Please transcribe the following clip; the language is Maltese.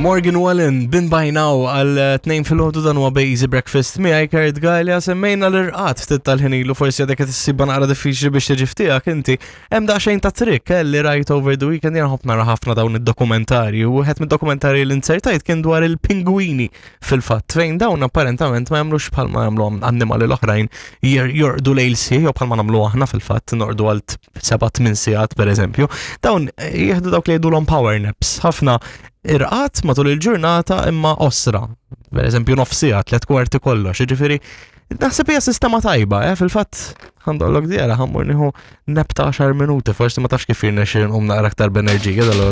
Morgan Wallen, bin by now għal tnejn fil-ħodu dan huwa Easy Breakfast miegħi Kurt Gallia semmejna l-irqat ftit tal-ħin ilu forsi għadek qed issibha naqra diffiċli biex tiġi ftiegħek inti. Hemm daqsxejn ta' trick eh, li rajt over the weekend jien nħobb nara ħafna dawn id-dokumentarji u wieħed mid-dokumentarji li insertajt kien dwar il-pingwini fil-fatt fejn dawn apparentament ma jagħmlux bħalma jagħmlu annimali l-oħrajn jorqdu lejl sħiħ jew bħalma nagħmlu aħna fil-fatt norqdu għal 7-8 sigħat pereżempju. Dawn eh, jieħdu dawk li jgħidulhom power naps, ħafna irqat matul il-ġurnata imma osra. Per eżempju nofsija, tlet kwarti kollox, jiġifieri naħseb hija sistema tajba, eh, fil-fatt għandollok djera ħammur nieħu nap ta' 10 minuti, forsi ma tafx kif jirnexxi nqum naqra aktar b'enerġija dal.